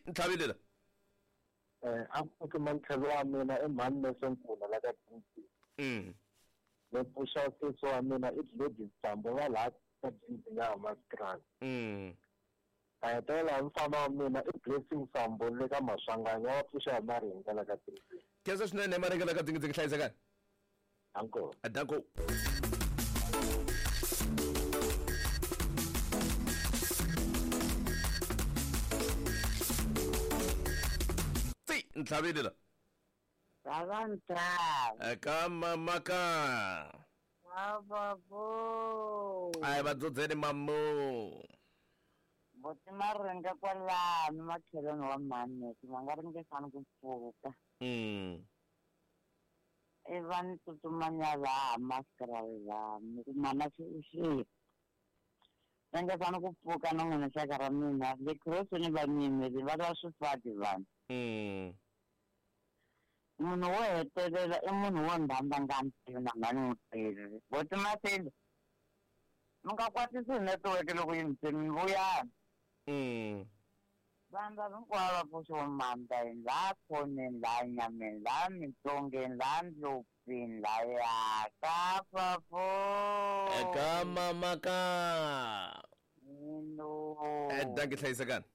Ntlhavile la. A ku pfuki mantlhelo wa mina i mhani Lesenkula la ka Dingidingi. Ni pfuxa sesi wa mina i Gladys Tambo va laha ka Dingidingi a Hammanskraal. Ta hetelela hi mfana wa mina i Blessing Sambo le ka Maswanganyi wa pfuxa hi Maringa la ka Dingidingi. Khensa swinene hi Maringa la ka Dingidingi hlayisekani. Danko. Danko. Ti ntlhavile la. Baba ntlhava. Eka mamaka. Baba bo. Ai va dzodzeni mamu. Boti maringa kwalano makhelwani wa mhani va nga ringesani ku pfuka. I va ni tsutsumanya laha maskraal laha ni ku mana swi ringesani ku pfuka na n'wina xaka ra mina le khirosini va nyimeli va lava swifati vanhu. Munhu wo hetelela i munhu wo ndhamba nga ntivi na nga ni n'wi tivi. Boti Maseli mi nga kwatisi hi netiweke loko yi mi mi vuyani. Vanhu lava hinkwavo va pfuxiwe mandleni laha khoneni laha nyameni laha mintsongeni laha ndlopfini laya ka papo. Eka mamaka. Hello. Dankie hlayisekani.